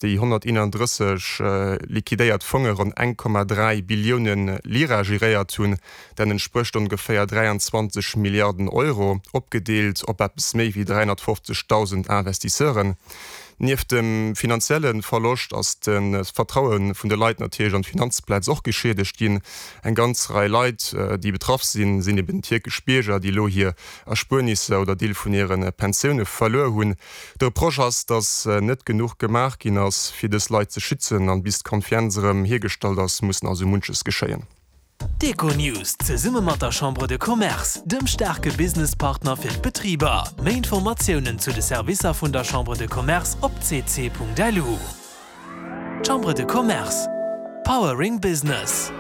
déi 131 liquidéiert Fonge ronn 1,3 Billioune Lira geréiert hunn. Dat entsprécht ongeféier 23 Milliarden Euro, opgedeelt op eppes méi wéi 350.000 Investisseuren. Nieft dem finanzielle Verloscht ass de Vertraue vun de Leit natierlech an d'Finanzplaz och geschiedegt ginn. Eng ganz Rei Leit, déi betraff sinn, sinn eben tierkesch Bierger, déi elo hir Erspuernisser oder Deel vun hire Pensioune verluer hunn. De Reproche ass, datt net genuch gemaach ginn ass, fir dës Leit ze schützen. An bis d'Confienz erëm hiergestallt ass, muss nach esou munches geschéien. D'Econews zesumme mat der Chambre de Commerce, dem staarke Businesspartner fir d'Betriber. Méi Informatiounen zu de Servicer vun der Chambre de Commerce op cc.lu. Chambre de Commerce, Powering Business.